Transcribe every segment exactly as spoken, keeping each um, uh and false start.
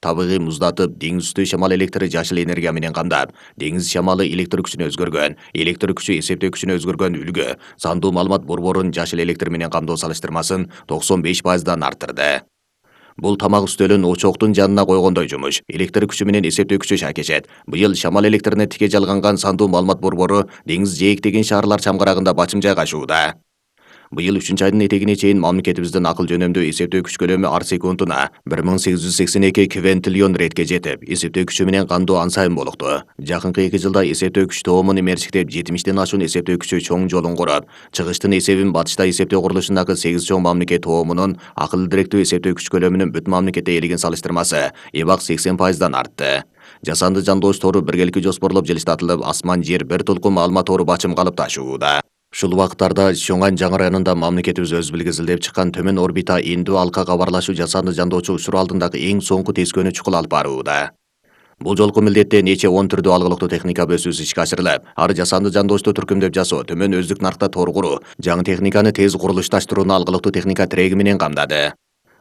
Табигый муздатып, деңиз үстү шамал электри жашыл энергия менен камдап, деңиз шамалы электр күчүнө өзгөргөн, электр күчү эсептөө күчүнө өзгөргөн үлгү сандуу маалымат борборунун жашыл электр менен камдоо салыштырмасын токсон беш пайыздан арттырды. Бул тамак үстөлүн очоктун жанына койгондой жумуш. Электр күчү менен эсептөө күчү шакешет. Быйыл шамал электрине тике жалганган сандуу маалымат борбору деңиз жээктеген шаарлар чамгарагында бачым жайгашууда. Быйыл үчүнчү айдын этегине чейин мамлекетибиздин акыл жөнөмдүү эсептөө күч көлөмү ар секундуна бир миң сегиз жүз сексен эки квинтиллион ретке жетип, эсептөө күчү менен кандуу ан сайын болукту. Жакынкы эки жылда эсептөө күч тоомун эмерчиктеп, жетимиштен ашуун эсептөө күчү чоң жолун куруп, чыгыштын эсебин батышта эсептөө курулушундагы сегиз чоң мамлекет тоомунун акылдуу директүү эсептөө күч көлөмүнүн бүтүн мамлекетте ээлеген салыштырмасы эбак сексен пайыздан артты. Жасанды жандооч тору биргеликке жоспорлоп жылыштатылып, асман жер бир толкун маалымат тору бачым калып ташууда. Ушул убакыттарда Чоңан жаңы районунда мамлекетибиз өз билгизилдеп чыккан төмөн орбита эндүү алка кабарлашуу жасанды жандоочу учур алдындагы эң соңку тескөөнү чукул алып барууда. Бул жолку милдетте нече он түрдүү алгылыктуу техника бөсүүсү ишке ашырылып, ар жасанды жандоочту түркүмдөп жасоо, төмөн өздүк наркта тор куруу, жаңы техниканы тез курулушташтырууну алгылыктуу техника тиреги менен камдады.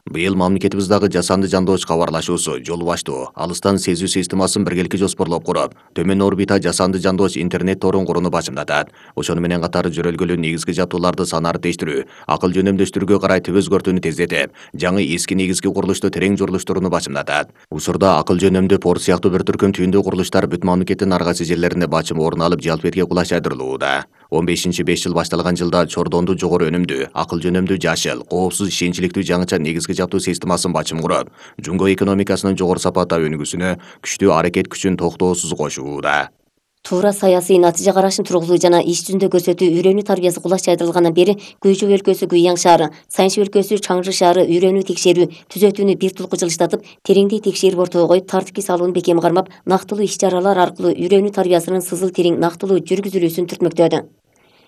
Быйыл мамлекетибиздагы жасанды жандооч кабарлашуусу, жол баштоо, алыстан сезүү системасын биргеликке жоспорлоп куруп, төмөн орбита жасанды жандооч интернет торун курууну бачымдатат. Ошону менен катар жөрөлгөлүү негизги жабдууларды санариптештирүү, акыл жөнөмдөштүрүүгө карай түп өзгөртүүнү тездетип, жаңы эски негизги курулушту терең жорлуштурууну бачымдатат. Учурда акыл жөнөмдүү порт сыяктуу бир түркүм түйүндүү курулуштар бүт мамлекеттин ар кайсы жерлеринде бачым орун алып, жалпетке кулаш жайдырылууда. он бешинчи беш жыл башталган жылда чордондуу жогору өнүмдүү, акыл жөнөмдүү жашыл, коопсуз, ишенчиликтүү жаңыча негизги жабдуу системасын бачым куруп, жумго экономикасынын жогору сапатта өнүгүүсүнө күчтүү аракет күчүн токтоосуз кошууда. Туура саясий натыйжа карашын тургузуу жана иш жүзүндө көрсөтүү үйрөнүү тарбиясы кулаш жайдырылгандан бери Көйчөп өлкөсү Гуйяң шаары, Сайынчы өлкөсү Чаңжы шаары үйрөнүү текшерүү түзөтүүнү бир тулку жылыштатып, тереңдей текшерип ортого коюп, тартипке салууну бекем кармап, нактылуу иш-чаралар аркылуу үйрөнүү тарбиясынын сызыл терең нактылуу жүргүзүлүүсүн түртмөктөдү.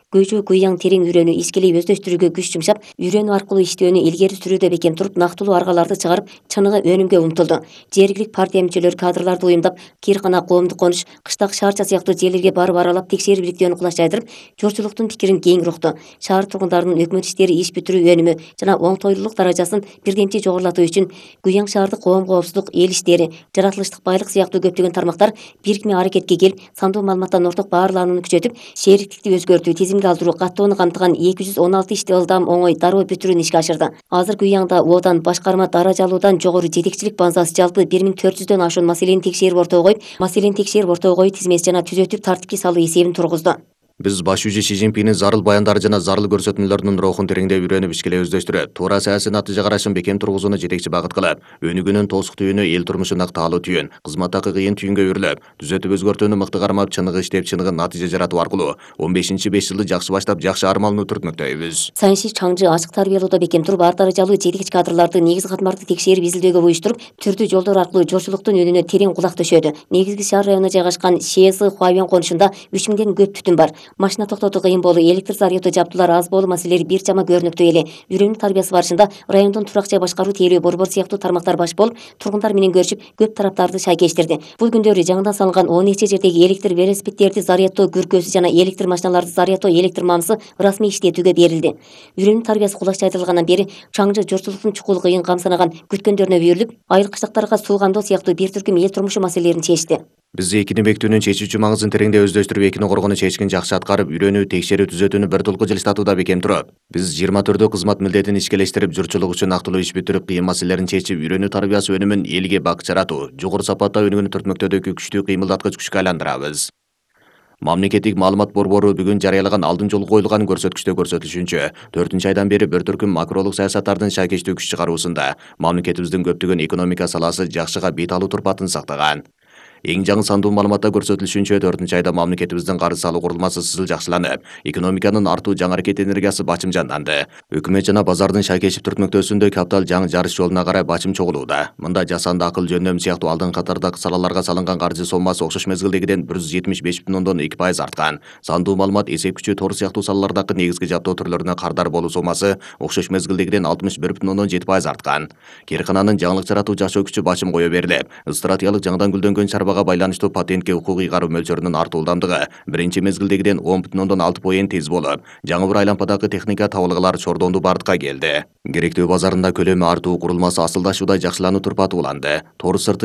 Көйчөп Гуйяң терең үйрөнүү ишкелей өздөштүрүүгө күч жумшап, үйрөнүү аркылуу иштөөнү илгери сүрүүдө бекем туруп, нактылуу аргаларды чыгарып, чыныгы өнүмгө умтулду. Жергиликтик партия мүчөлөрү кадрларды уюмдап, Киркана, Коомдук Конуш, Кыштак шаарча сыяктуу жерлерге барып аралап, текшерип иликтөөнү кулаш жайдырып, журтчулуктун пикирин кең укту. Шаар тургундарынын өкмөт иштери иш бүтүрүү өнүмү жана оңтойлуулук даражасын бирдемчи жогорулатуу үчүн Гуйяң шаардык коом коопсуздук, эл иштери, жаратылыштык байлык сыяктуу көптөгөн тармактар бирикме аракетке келип, сандуу маалыматтан орток баарланууну күчөтүп, шээриктикти өзгөртүү, тизимге алдыруу, каттоону камтыган эки жүз он алты ишти ылдам, оңой, дароо бүтүрүүнү ишке ашырды. Азыр Гуйяңда Одан башкарма даражалуудан жогору жетекчилик базасы жалпы бир миң төрт жүздөн ашуун маселени текшерип ортого коюп, маселени текшерип ортого коюу тизмеси жана түзөтүп, тартипке салуу эсебин тургузду. Биз башчы Си Цзиньпиндин зарыл баяндары жана зарыл көрсөтмөлөрүнүн рухун тереңдеп үйрөнүп, ишкелей өздөштүрүп, туура саясий натыйжа карашын бекем тургузууну жетекчи багыт кылып, өнүгүүнүн тоосук түйүнү эл турмушунда таалуу түйүн, кызматтагы кыйын түйүнгө өрлөп, түзөтүп өзгөртүүнү мыкты кармап, чыныгы иштеп, чыныгы натыйжа жаратуу аркылуу он бешинчи беш жылды жакшы баштап, жакшы армалууну түртмөктөйбүз. Сайынчы Чаңжы ачык тарбиялоодо бекем туруп, ар даражалуу жетекчи кадрларды, негизги катмарды текшерип, изилдөөгө буюштуруп, түрдүү жолдор аркылуу журтчулуктун үнүнө терең кулак төшөдү. Негизги шаар районуна жайгашкан ШЭС Хуабян конушунда үч миңден көп түтүн бар. Машина токтотуу кыйын болуу, электр заряддуу жабдуулар аз болуу маселелери бир чама көрүнүктүү эле. Үйрөнүү тарбиясы барышында райондун турак жай башкаруу тейлөө борбор сыяктуу тармактар баш болуп, тургундар менен көрүшүп, көп тараптарды шайкештирди. Бул күндөрү жаңыдан салынган он нече жердеги электр велосипеддерди заряддоо күркөсү жана электр машиналарды заряддоо электр мамысы расмий иштетүүгө берилди. Үйрөнүү тарбиясы кулаш жайдырылгандан бери Чаңжы журтчулуктун чукул, кыйын, камсынаган күткөндөрүнө үйрүлүп, айыл кыштактарга суу кандоо сыяктуу бир түркүм эл турмушу маселелерин чечти. Биз экини бекитүүнүн чечүүчү маңызын тереңдеп өздөштүрүп, экини коргонуу чечкин жакшы аткарып, үйрөнүү, текшерүү, түзөтүүнү бир толку жылыштатууда бекем туруп, биз жыйырма төрттөө кызмат милдетин ишкелештирип, журтчулук үчүн нактылуу иш бүтүрүп, кыйын маселелерин чечип, үйрөнүү тарбиясы өнүмүн элге бак жаратуу, жогору сапатта өнүгүүнү түртмөктөөдөгү күчтүү кыймылдаткыч күчкө айландырабыз. Мамлекеттик маалымат борбору бүгүн жарыялаган алдын жолу коюлган көрсөткүчтө көрсөтүлүшүнчө, төртүнчү айдан бери бир түркүм макролук саясаттардын шайкештүү күч чыгаруусунда мамлекетибиздин көптөгөн экономика саласы жакшыга бет алуу турпатын сактаган. Эң жаңы сандуу маалыматта көрсөтүлүшүнчө, төртүнчү айда мамлекетибиздин карыз салуу курулмасы сызыл жакшыланып, экономиканын артуу жаңы аракет энергиясы бачым жанданды. Өкмөт жана базардын шайкешип түртмөктөөсүндө каптал жаңы жарыш жолуна карай бачым чогулууда. Мында жасанды акыл жөнөм сыяктуу алдын катардагы салаларга салынган каржы соммасы окшош мезгилдегиден бир жүз жетимиш беш бүтүн ондон эки пайыз арткан. Сандуу маалымат, эсеп күчү, тор сыяктуу салалардагы негизги жабдоо түрлөрүнө кардар болуу соммасы окшош мезгилдегиден алтымыш бир бүтүн ондон жети пайыз арткан. Киркананын жаңылык жаратуу жашоо күчү бачым кое берилип, стратегиялык жаңыдан гүлдөнгөн чарба арбага байланыштуу патентке укук ыйгаруу мөлчөрүнүн артуулдамдыгы биринчи мезгилдегиден он бүтүн ондон алты поен тез болуп, жаңы бір айлампадагы техника табылгылар чордондуу бардыкка келди. Керектөө базарында көлөмү артуу курулмасы асылдашууда жакшылануу турпаты уланды. Тор сырты